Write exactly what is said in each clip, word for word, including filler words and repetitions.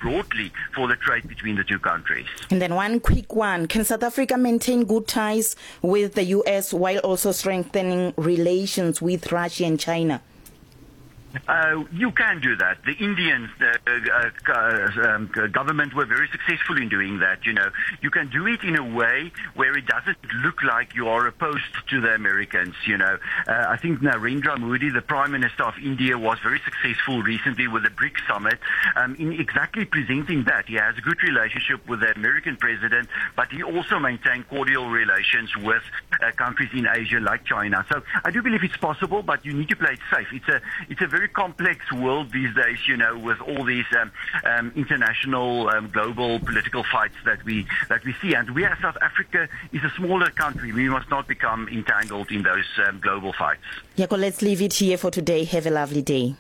broadly for the trade between the two countries. And then one quick one. Can South Africa maintain good ties with the U S while also strengthening relations with Russia and China? Uh, you can do that. The Indian uh, uh, um, government were very successful in doing that. You know, you can do it in a way where it doesn't look like you are opposed to the Americans. You know, uh, I think Narendra Modi, the Prime Minister of India, was very successful recently with the BRICS summit um, in exactly presenting that. He has a good relationship with the American president, but he also maintained cordial relations with uh, countries in Asia like China. So I do believe it's possible, but you need to play it safe. It's a, it's a very complex world these days, you know, with all these um, um, international, um, global political fights that we that we see. And we as South Africa is a smaller country. We must not become entangled in those um, global fights. Jaco, let's leave it here for today. Have a lovely day.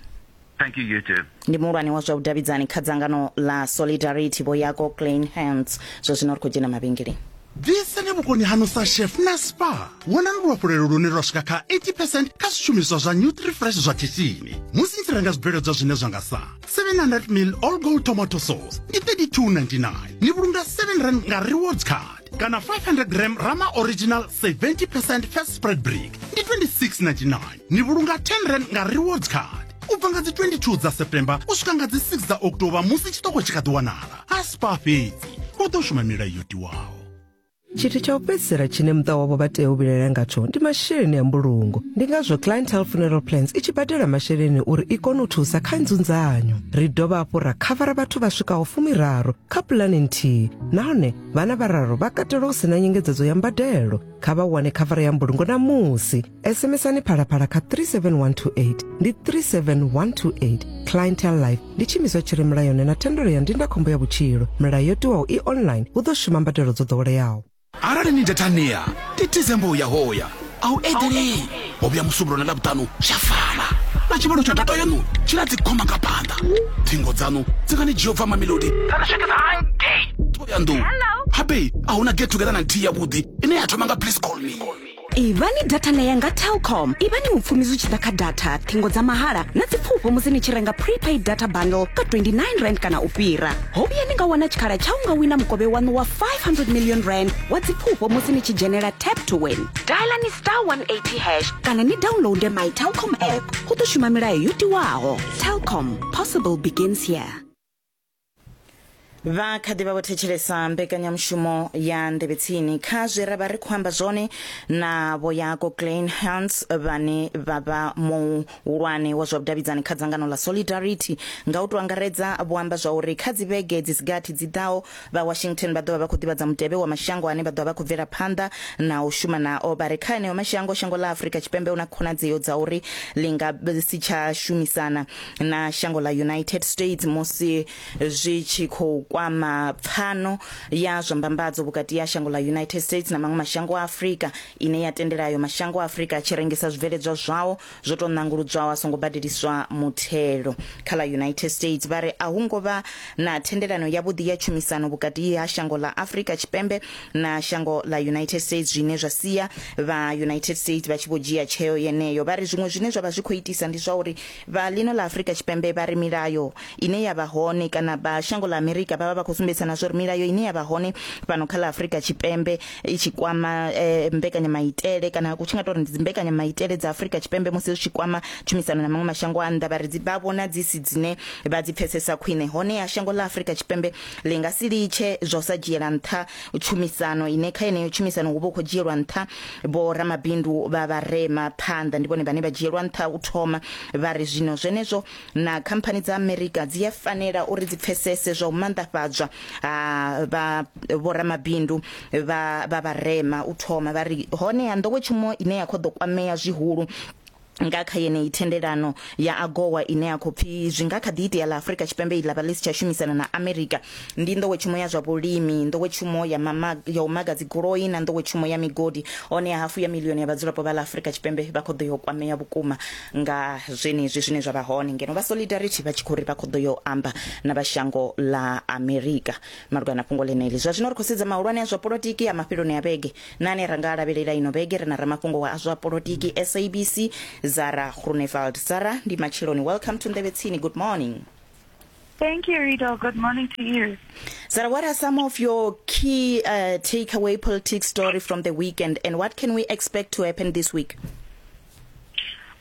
Thank you, you too. Ndi muhulwane wa zwa vhudavhidzani kha dzangano la Solidarity Vho Jaco Kleynhans. Zwa zwino ri khou dzhena mavhengeleni. Ḓisani vhukoni haṋu sa chef na Spar. Wanani luhafhulelo lune lwa swika kha eighty percent kha zwishumiswa zwa Nutrifresh zwa khishini. Musi ni tshi renga zwibveledzwa zwine zwa nga sa seven hundred mil all gold tomato sauce ndi thirty-two ninety-nine. Ni vhulunga seven rand nga rewards card kana five hundred gram Rama original seventy percent first spread brick ndi twenty-six ninety-nine. Ni vhulunga ten rand nga rewards card. U bva nga dzi twenty-two dza September u swika nga dzi six dza October musi tshiṱoko tshi kha ḓi wanala. Ha Spar fhedzi hu ḓo shuma milayo yo tiwaho. Tshithu tsha u fhedzisela tshine muṱa wavho vha tea u vhilaela ngatsho ndi masheleni a mbulungo. Ndi ngazwo Clientele Funeral Plans i tshi badela masheleni uri i kone u thusa kha nzunzanyo. Ri dovha hafhu ra khavara vhathu vha swikaho fumiraru kha pulani nthihi, nahone vhana vhararu vha katelwa hu sina nyengedzedzo ya mbadelo. Kha vha wane khavara ya mbulungo namusi. SMSani Phalaphala kha three seven one two eight, ndi three seven one two eight. Clientele Life ndi tshiimiswa tshi re mulayoni na thendelo ya ndindakhombo ya vhutshilo. Milayo yo tiwaho i online, hu ḓo shuma mbadelo dzo ḓoweleaho. Arali ni datania titizembo ya hoya au eḓelei ho vhuya musumbulo na ḽavhuṱanu zha fana na tshivhalo tsha data yanu tshi na dzi khoma nga phanḓa ṱhingo dzanu dzi nga ni dzhia ubva Mamelodi dza ni swikisa hangei Thohoyandou. Habe a huna get together na nthihi yavhuḓi ine ya thoma nga please call me. Ivhani data na yanga Telkom. Ivhani mupfumi zwi tshi ḓa kha data, ṱhingo dza mahala na dzipfufho musi ni tshi renga prepaid data bundle ka twenty-nine rand kana u fhira. Ho vhuya ni nga wana tshikhala tsha u nga wina mukovhe waṋu wa five hundred million rand wa dzipfufho musi ni tshi dzhenela Tap to Win. Dialani star one eighty hash kana ni downloade my Telkom app. Hu ḓo shuma milayo yo tiwaho. Telkom, possible begins here. Vha kha ḓivha vho thetshelesa mbekanyamushumo ya Nḓevhe Tsini. Kha zwe ra vha ri khou amba zwone na Vho Jaco Kleynhans vhane vha vha muhulwane wa zwa vhudavhidzani kha dzangano ḽa Solidarity, nga u tou angaredza vho amba zwa uri kha dzi vhege dzi si gathi dzi ḓaho vha Washington vha ḓo vha vha khou ḓivhadza mutevhe wa mashango ane vha ḓo vha vha khou bvela phanḓa na u shuma nao. Vha re kha eneo mashango, shango ḽa Afrika Tshipembe hu na khonadzeo dza uri ḽi nga si tsha shumisana na shango ḽa United States musi zwi tshi khou kwama pfano ya zwa mbambadzo vhukati ya shango ḽa United States na maṅwe mashango a Afrika, ine ya tendelayo mashango a Afrika a tshi rengisa zwibveledzwa zwao zwo tou nanguludzwaho a songo badeliswa muthelo. Kha ḽa United States vha ri a hu ngo vha na thendelano yavhuḓi ya tshumisano vhukati ha shango ḽa Afrika Tshipembe na shango ḽa United States, zwine zwa sia vha United States vha tshi vho dzhia tsheo yeneyo. Vha ri zwiṅwe zwine zwa vha zwi khou itisa ndi zwa uri vha ḽino ḽa Afrika Tshipembe vha ri milayo ine ya vha hone kana vha shango ḽa Amerika vha vha vha khou sumbedzana zwa uri milayo ine ya vha hone fhano kha ḽa Afrika Tshipembe i tshi kwama eh, mbekanyamaitele kana ku tshi nga tou ri ndi dzimbekanyamaitele dza Afrika Tshipembe musi zwi tshi kwama tshumisano na maṅwe mashango a nnḓa, vha ri dzi vha vhona dzi si dzine vha dzi pfesesa khwine. Hone ya shango ḽa Afrika Tshipembe ḽi nga si litshe zwa u sa dzhiela nṱha tshumisano ine kha yeneyo tshumisano hu vha hu khou dzhielwa nṱha vho ramabindu vha vharema phanḓa, ndi vhone vhane vha dzhielwa nṱha u thoma. Vha ri zwino zwenezwo na khamphani dza Amerika dzi a fanela uri dzi pfesese zwa u maanḓafhadzwa ha vha vho ramabindu vha vha vharema u thoma. Vha ri hone ya nḓowetshumo ine ya khou ḓo kwamea zwihulu nga kha yeneyi thendelano ya AGOA ine ya khou pfi zwi nga kha ḓi itea ḽa Afrika Tshipembe iḽa vha ḽi si tsha shumisana na Amerika, ndi nḓowetshumo ya zwa vhulimi, nḓowetshumo ya mama, ya u maga dzigoloi na nḓowetshumo ya migodi. Hone ya hafu ya milioni ya vhadzulapo vha ḽa Afrika Tshipembe vha khou ḓo yo kwamea vhukuma nga zwenezwi zwine zwa vha hone, ngeno vha Solidarity vha tshi khou ri vha khou ḓo yo amba na vha shango ḽa Amerika malugana na fhungo ḽeneḽi. Zwa zwino ri khou sedza mahulwane a zwa polotiki a mafheloni a vhege na ane ra nga lavhelela ino vhege. Ri na ramafhungo wa zwa polotiki S A B C Zara Groenewald. Zara, ndi matsheloni. Welcome to Nḓevhe Tsini. Good morning. Thank you, Rito. Good morning to you. Zara, what are some of your key uh, takeaway politics story from the weekend, and what can we expect to happen this week?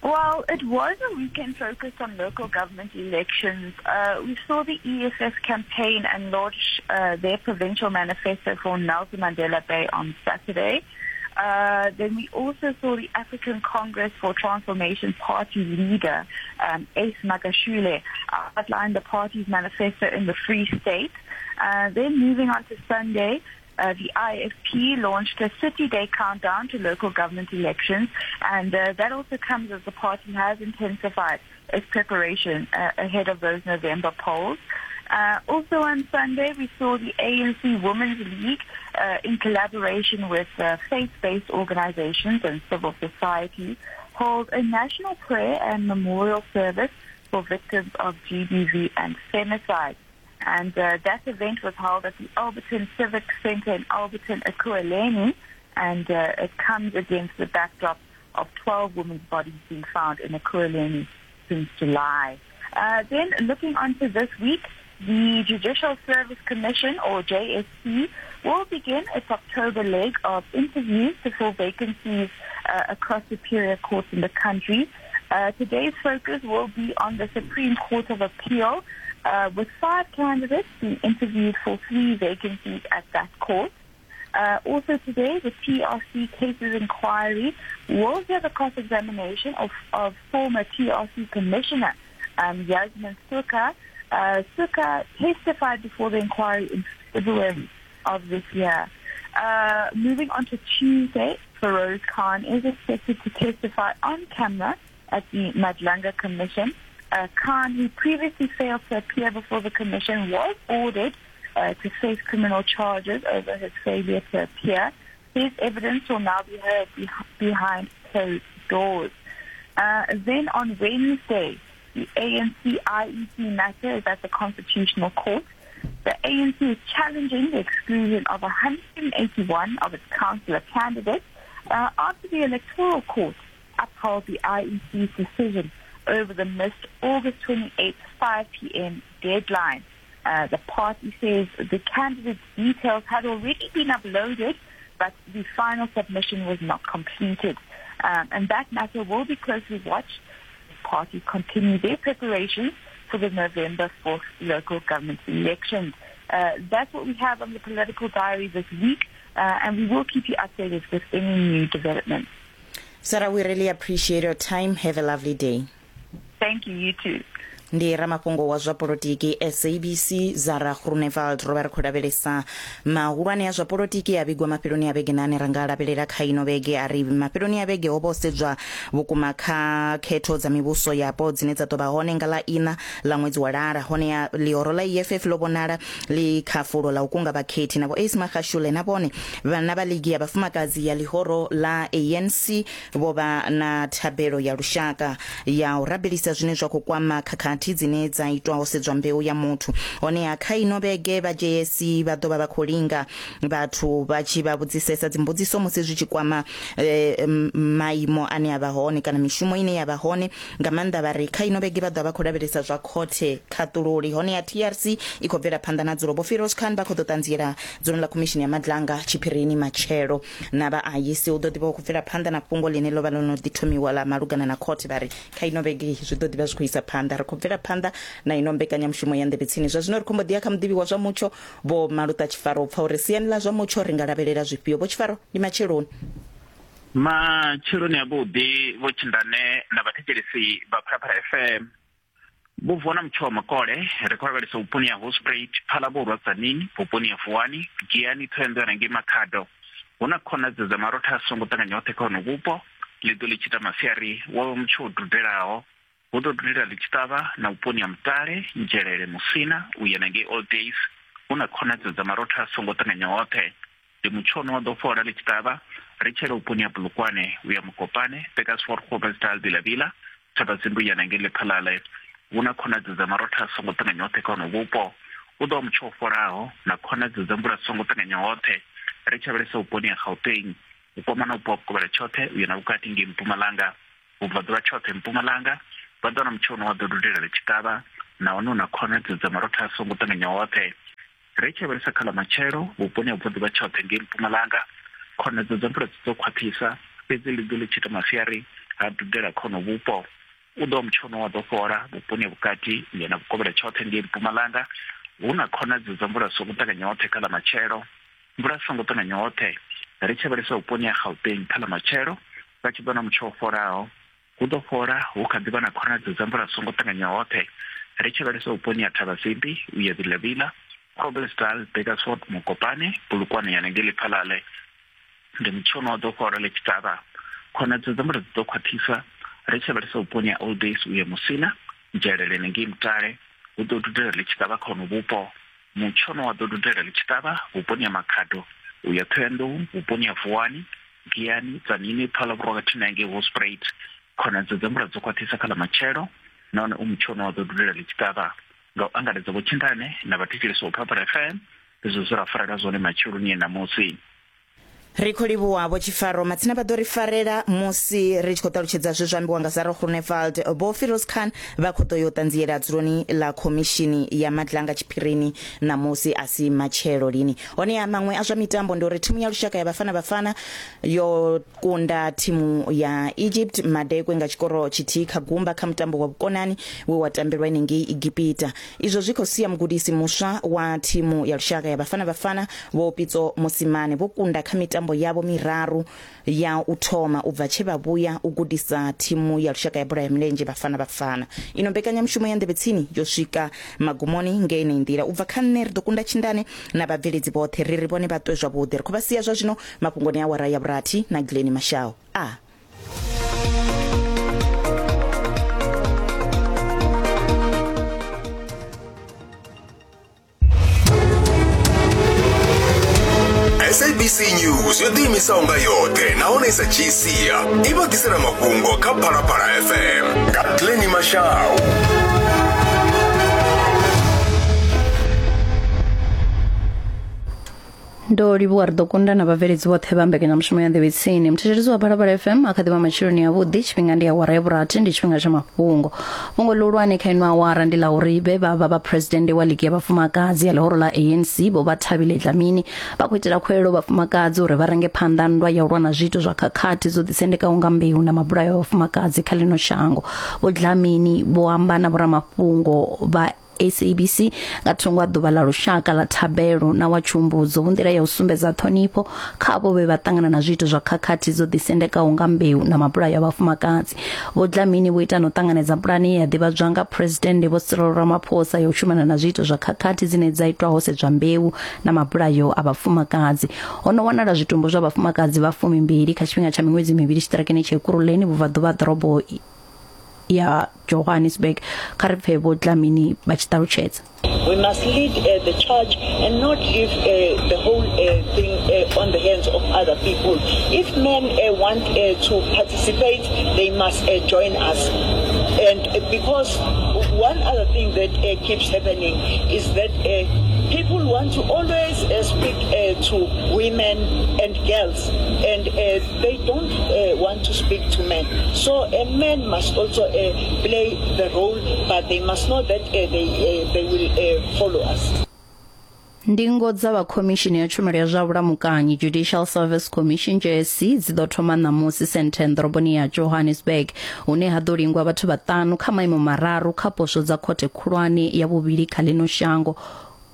Well, it was a weekend focused on local government elections. Uh, we saw the E F F campaign and launch uh, their provincial manifesto for Nelson Mandela Bay on Saturday. Uh, then we also saw the African Congress for Transformation Party leader, um, Ace Magashule, outline the party's manifesto in the Free State. Uh, then moving on to Sunday, uh, the I F P launched a city day countdown to local government elections, and uh, that also comes as the party has intensified its preparation uh, ahead of those November polls. Uh, also on Sunday, we saw the A N C Women's League uh, in collaboration with uh, faith-based organizations and civil society hold a national prayer and memorial service for victims of G B V and femicide. And uh, that event was held at the Alberton Civic Center in Alberton, Ekurhuleni, and uh, it comes against the backdrop of twelve women's bodies being found in Ekurhuleni since July. Uh, then looking onto this week, the Judicial Service Commission, or J S C, will begin its October leg of interviews to fill vacancies uh, across superior courts in the country. Uh, today's focus will be on the Supreme Court of Appeal, uh, with five candidates being interviewed for three vacancies at that court. Uh, also today, the T R C Cases Inquiry will hear the cross-examination of, of former T R C Commissioner um, Yasmin Sooka. Uh, Sooka testified before the inquiry in February of this year. Uh, moving on to Tuesday, Feroz Khan is expected to testify on camera at the Madlanga Commission. Uh, Khan, who previously failed to appear before the commission, was ordered uh, to face criminal charges over his failure to appear. His evidence will now be heard be- behind closed doors. Uh, then on Wednesday, the A N C I E C matter is at the Constitutional Court. The A N C is challenging the exclusion of one hundred eighty-one of its councillor candidates uh, after the Electoral Court upheld the I E C's decision over the missed August twenty-eighth five p.m. deadline. Uh, the party says the candidates' details had already been uploaded, but the final submission was not completed. Um, and that matter will be closely watched. The party continue their preparations for the November fourth local government elections. Uh, that's what we have on the Political Diary this week, uh, and we will keep you updated with any new developments. Sarah, we really appreciate your time. Have a lovely day. Thank you, you too. Ndi ramafhungo wa zwa polotiki S A B C Zara Groenewald. Ro vha ri khou lavhelesa mahulwane a zwa polotiki a vhigwa mafheloni a vhege nane ra nga lavhelela kha ino vhege. A ri mafheloni a vhege ho vha ho sedzwa vhukuma kha khetho dza mivhuso yapo dzine dza ḓo vha hone nga ḽa ina ḽa ṅwedzi wa lara. Hone ya ḽihoro ḽa E F F ḽo vhonala ḽi kha fulo ḽa u kunga vhakhethi na vho Ace Magashule na vhone vhana vha ligi ya vhafumakadzi ya ḽihoro ḽa A N C vho vha na thabelo ya lushaka ya u rabelisa zwine zwa khou kwama khakhathi dzine dza itwa ho sedzwa mbeu ya muthu. Hone ya kha ino vhege vha J S C vha ḓo vha vha khou linga vhathu vha tshi vha vhudzisesa dzimbudziso musi zwi tshi kwama eh, maimo ane a vha hone kana mishumo ine ya vha hone nga maanḓa. Vha ri kha ino vhege vha ḓo vha khou lavhelesa zwa khothe khaṱululi. Hone ya T R C i khou bvela phanḓa na dzulo. Vho Feroz Khan vha khou ḓo ṱanziela dzuloni ḽa khomishini ya Madlanga tshiphirini matshelo. Na vha I E C u ḓo ḓivha khou bvela phanḓa na fhungo ḽine ḽo vha ḽo no ḓi thomiwa ḽa malugana na khothe. Vha ri kha ino vhege zwi ḓo ḓivha zwi khou isa phanḓa. Ri khou bvela phanḓa na ino mbekanyamushumo ya Nḓevhe Tsini. Zwa zwino ri khou mbo ḓi ya kha muḓivhi wa zwa mutsho Vho Maluta Tshifaro u pfa uri siani ḽa zwa mutsho ri nga lavhelela zwifhio. Vho Tshifaro, ndi matsheloni. Matsheloni avhuḓi Vho Tshindane na vhathetshelesi vha Phalaphala F M. Vho vona mutsho wa makole ri khou lavhelesa vhuponi ha Hospruit, Phalaborwa, Tzaneen, vhuponi ha Vuwani, Giyani, Thohoyandou na ngei Makhado. Hu na khonadzeo dza marotha a songo ṱanganya hoṱhe kha hono vhupo. Ḽi ḓo ḽi tshi ita masiari wa vha mutsho wo dudelaho. Hu ḓo dudela ḽi tshi ṱavha na vhuponi ha Mutale, Nzhelele, Musina u ya na ngei Old Days. Hu na khonadzeo dza marotha a songo ṱanganya hoṱhe. Ndi mutsho une wa ḓo fhola ḽi tshi ṱavha ri tshele vhuponi ha Polokwane u ya Mokopane, Burgersfort, Khomasdal, Vilavila, Thabazimbi u ya na ngei Lephalale. Hu na khonadzeo dza marotha a songo ṱanganya hoṱhe kha hono vhupo. Hu ḓo vha mutsho wo fholaho na khonadzeo dza mvula songo ṱanganya hoṱhe ri tshi lavhelesa vhuponi ha Gauteng, u kwama na vhupo ha vhukovhela tshoṱhe u ya na vhukati ngei Mpumalanga, vhubvaḓuvha tshoṱhe Mpumalanga. Vha ḓo wana mutsho une wa ḓo dudela ḽi tshi ṱavha Nahone hu na khonadzeo dza marotha a songo ṱanganya hoṱhe. Ri tshi lavhelesa kha ḽa matshelo vhuponi ha vhuḓi vha tshoṱhe ngei Mpumalanga, khonadzeo dza mvula dzi ḓo khwaṱhisa, fhedzi ḽi ḓo ḽi tshi ita masiari ha dudela khono vhupo. U ḓo mutshono wa ḓo fhola vhuponi ha vhukati ngeno vhukovhela tshoṱhe ngei Mpumalanga, hu na khonadzeo dza mvula songo ṱanganya hoṱhe kha ḽa matshelo. Mvula songo ṱanganya hoṱhe ri tshi lavhelesa vhuponi ha Gauteng kha ḽa matshelo, vha tshi ḓo na mutsho wo fholaho, hu ḓo fhola hu kha ḓi vha na khonadzeo dza mvula songo ṱanganya hoṱhe. Ri tshi lavhelesa vhuponi ha Thabazimbi u ya Vilavila, Groblersdal, Bakersford, Mokopane, Polokwane ya ngei Lephalale, ndi mutshono wa ḓo fhola ḽi tshi ṱavha. Khonadzeo dza mvula dzi ḓo khwaṱhisa. Ri tshi lavhelesa vhuponi ha Old Days u ya Musina, Nzhelele ngei Mutale, hu ḓo dudela ḽi tshi ṱavha khono vhupo. Mutshono wa ḓo dudela ḽi tshi ṱavha vhuponi ha Makhado u ya Thohoyandou, vhuponi ha Vuwani, Giyani, Tzaneen, Phalaborwa khathihi na ngei Hoedspruit. Khonadzeo dza mvula dzo khwaṱhisa kha ḽa matshelo, nahone u mutshono wa ḓo dudela ḽi tshi ṱavha. Nga u angaredza vhotshindane na vhathetshelesi vha Phalaphala F M, izwo zwe ra farela zwone matsheloni a ṋamusi. Ri khou livhuwa Vho Tshifaro matsina vha ḓo ri farela musi ri tshi khou ṱalutshedza zwe zwa ambiwa nga Sarah Groenewald. Vho Firoz Khan vha khou ḓo yo ṱanziela dzuloni ḽa khomishini ya Madlanga tshiphirini ṋamusi a si matshelo lini. Honeha maṅwe a zwa mitambo ndi uri thimu ya lushaka ya Bafana Bafana yo kunda thimu ya Egypt madekwe nga tshikoro tshithihi kha gumba kha mutambo wa vhukonani we wa tambelwa henengei Egipita. Izwo zwi khou sia mugudisi muswa wa thimu ya lushaka ya Bafana Bafana Vho Pitso Mosimane vho kunda kha mitambo yavho miraru ya u thoma u bva tshe vha vhuya u gudisa thimu ya lushaka ya bola ya milenzhe Bafana Bafana. Ino mbekanyamushumo ya Nḓevhe Tsini yo swika magumoni ngei nḓila. U bva kha nṋe ri ḓo kunda tshindane na vhabveledzi vhoṱhe ri ri vhone vha ṱwe zwavhuḓi. Ri khou vha sia zwa zwino mafhungoni a awara ya vhurathi na Glenn Mashao. A S A B C News yo ḓiimisaho nga yoṱhe nahone sa dzhii sia i vha ḓisela mafhungo kha Phalaphala F M nga Glenn Mashau. Ndo livhuwa ri ḓo kunda na vhabveledzi vhoṱhe vha mbekanyamushumo ya Nḓevhe Tsini. Muthetshelesi wa Phalaphala F M a kha ḓivha matsheloni avhuḓi. Tshifhinga ndi awara ya vhurathi, ndi tshifhinga tsha mafhungo. Fhungo ḽihulwane kha ino awara ndi ḽa uri vhe vha vha vha presidennde wa ligi ya vhafumakadzi ya ḽihoro ḽa A N C Vho Bathabile Dlamini vha khou itela khuwelelo vhafumakadzi uri vha range phanḓa nndwa ya u lwa na zwiito zwa khakhathi dzo ḓisendekaho nga mbeu na mabulayo a vhafumakadzi kha ḽino shango. Vho Dlamini vho amba na vhoramafhungo vha S A B C nga thungo a ḓuvha ḽa lushaka ḽa thabelo na wa tshumbudzo hu nḓila ya u sumbedza ṱhonifho kha avho vhe vha ṱangana na zwiito zwa khakhathi dzo ḓisendekaho nga mbeu na mabulayo a vhafumakadzi. Vho Dlamini vho ita no ṱanganedza pulane ya ḓivhadzwa nga President Vho Cyril Ramaphosa ya u shumana na zwiito zwa khakhathi dzine dza itwa ho sedzwa mbeu na mabulayo a vhafumakadzi. Ho no wanala zwitumbu zwa vhafumakadzi vha fumimbili kha tshifhinga tsha miṅwedzi mivhili tshiṱirakini tsha Ekurhuleni vhubvaḓuvha ha ḓorobo ya Johannesburg. Kha ri pfe Vho Dlamini vha tshi ṱalutshedza. We must lead uh, the charge and not leave uh, the whole uh, thing uh, on the hands of other people. If men uh, want uh, to participate, they must uh, join us. And uh, because one other thing that uh, keeps happening is that uh, people want to always uh, speak uh, to women and girls, and uh, they don't uh, want to speak to men. So uh, men must also uh, play the role, but they must know that uh, they, uh, they will uh, follow us. Ndingo dza vha khomishini ya tshumelo ya zwa vhulamukanyi Judicial Service Commission J S C dzi ḓo thoma ṋamusi Sandton ḓoroboni ya Johannesburg, hune ha ḓo lingwa vhathu vhaṱanu kha maimo mararu kha poswo dza khothe khulwane ya vhuvhili kha ḽino shango,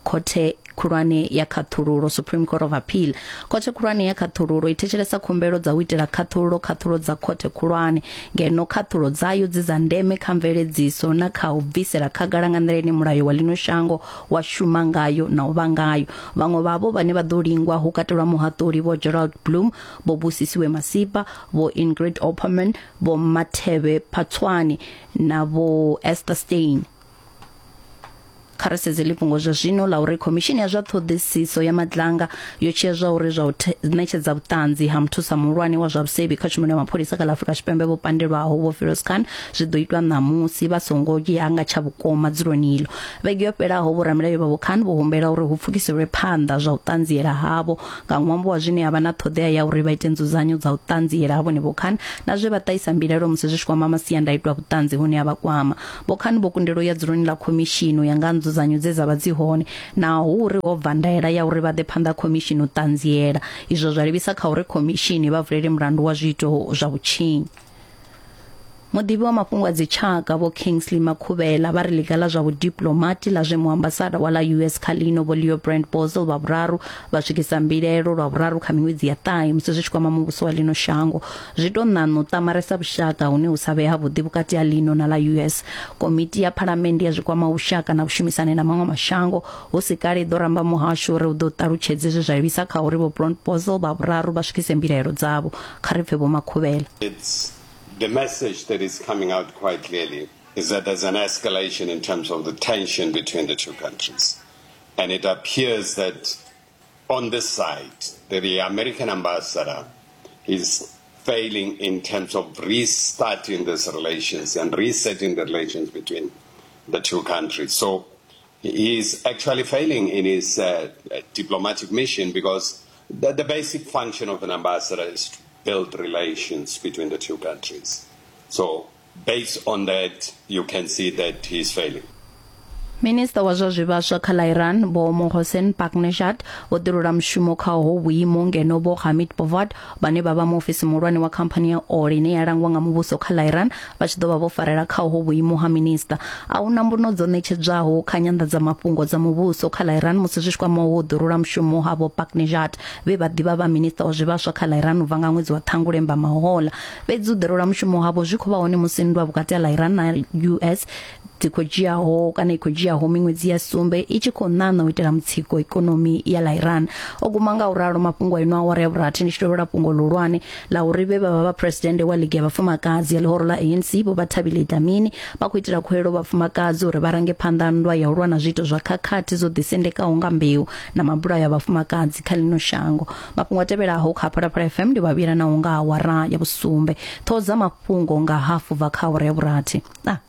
khothe khulwane ya khaṱhululo Supreme Court of Appeal. Khothe khulwane ya khaṱhululo i thetshelesa khumbelo dza u itela khaṱhululo khaṱhulo dza khothe khulwane, ngeno khaṱhulo dzayo dzi dza ndeme kha mveledziso na kha u bvisela khagala nga nḓila ine mulayo wa ḽino shango wa shuma ngayo na u vha ngayo. Vhaṅwe vhavho vhane vha ḓo lingwa hu katelwa muhaṱuli Vho Gerald Bloom, Vho Busisiwe Masipa, Vho Ingrid Opperman, Vho Mathebe Phatswani na Vho Esther Stein. Kha ri sedze ḽifhungo zwa zwino ḽa uri khomishini ya zwa ṱhoḓisiso ya Madlanga yo tshea zwa uri zwa u ṋetshedza vhuṱanzi ha muthusa muhulwane wa zwa vhusevhi kha tshumelo ya mapholisa kha ḽa Afrika Tshipembe vho pandelwaho Vho Firoz Khan zwi ḓo itwa ṋamusi vha songo ya nga tsha vhukoma dzuloni ilo. Vhege yo fhelaho vhoramilayo vha Vho Khan vho humbela uri hu pfukiselwe phanḓa zwa u ṱanziela havho nga ṅwambo wa zwine ha vha na ṱhoḓea ya uri vha ite nzudzanyo dza u ṱanziela ha vhone Vho Khan na zwe vha ṱahisa mbilaelo musi zwi tshi kwama masiandaitwa a vhuṱanzi hune ha vha kwama. Vho Khan vho kundelwa u ya dzuloni ḽa khomishini ya nga nzudzanyo dze dza vha dzi hone naho uri ho bva ndaela ya uri vha ḓe phanḓa khomishini u ṱanziela. Izwo zwa livhisa kha uri khomishini vha vulele mulandu wa zwiito zwa vhutshinyi. Muḓivhi wa mafhungo a dzitshaka Vho Kingsley Makhuvhela vha ri ḽiga ḽa zwa vhudiplomati ḽa zwe muambasada wa ḽa U S kha ḽino Vho Leo Brand Bosel vha vhuraru vha swikisa mbilaelo lwa vhuraru kha miṅwedzi ya ṱahe musi zwi tshi kwama muvhuso wa ḽino shango. Zwi tou ṋaṋa u ṱamaresa vhushaka hune hu sa vhe havhuḓi vhukati ha ḽino na ḽa U S. Komiti ya phalamennde ya zwi kwamaho vhushaka na vhushumisani na maṅwe mashango hu si kale i ḓo ramba muhasho uri u ḓo ṱalutshedze zwe zwa livhisa kha uri Vho Brand Bosel vha vhuraru vha swikise mbilaelo dzavho. Kha ri pfe Vho Makhuvhela. The message that is coming out quite clearly is that there's an escalation in terms of the tension between the two countries. And it appears that on this side, that the American ambassador is failing in terms of restarting these relations and resetting the relations between the two countries. So he is actually failing in his uh, diplomatic mission, because the, the basic function of an ambassador is to build relations between the two countries. So based on that, you can see that he is failing. Minister wa zwa zwivhaswa kha ḽa Iran Vho Mohsen Paknejad vho ḓirula mushumo kha ho vhuimo ngeno Vho Hamid Bovat vhane vha vha muofisi muhulwane wa khamphani ya ole ine ya langwa nga muvhuso kha ḽa Iran vha tshi ḓo vha vho farela kha ho vhuimo ha minista. A hu na mbuno dzo ṋetshedzwaho kha nyanḓadzamafhungo dza muvhuso kha ḽa Iran musi zwi tshi kwama ho ḓirula mushumo ha Vho Paknejad vhe vha ḓivha vha minista wa zwivhaswa kha ḽa Iran u bva nga ṅwedzi wa Ṱhangule Mbamahola. Fhedzi u ḓirula mushumo havho zwi khou vha hone musi nndwa vhukati ha ḽa Iran na U S dzi khou dzhiaho kana i khou dzhiaho miṅwedzi ya sumbe i tshi khou ṋaṋa u itela mutsiko ikonomi ya ḽa Iran. O guma nga u ralo mafhungo a ino awara ya vhurathi. Ndi tshi tovhela fhungo ḽihulwane ḽa uri vhe vha vha vha presidennde wa ligi ya vhafumakadzi ya ḽihoro ḽa A N C Vho Bathabile Dlamini vha khou itela khuwelelo vhafumakadzi uri vha range phanḓa nndwa ya u lwa na zwiito zwa khakhathi dzo ḓisendekaho nga mbeu na mabulayo a vhafumakadzi kha ḽino shango. Mafhungo a tevhelaho kha Phalaphala F M ndi vhavhila naho nga awara ya vhusumbe. Ṱhoho dza mafhungo nga hafu bva kha awara ya vhurathi. Ah.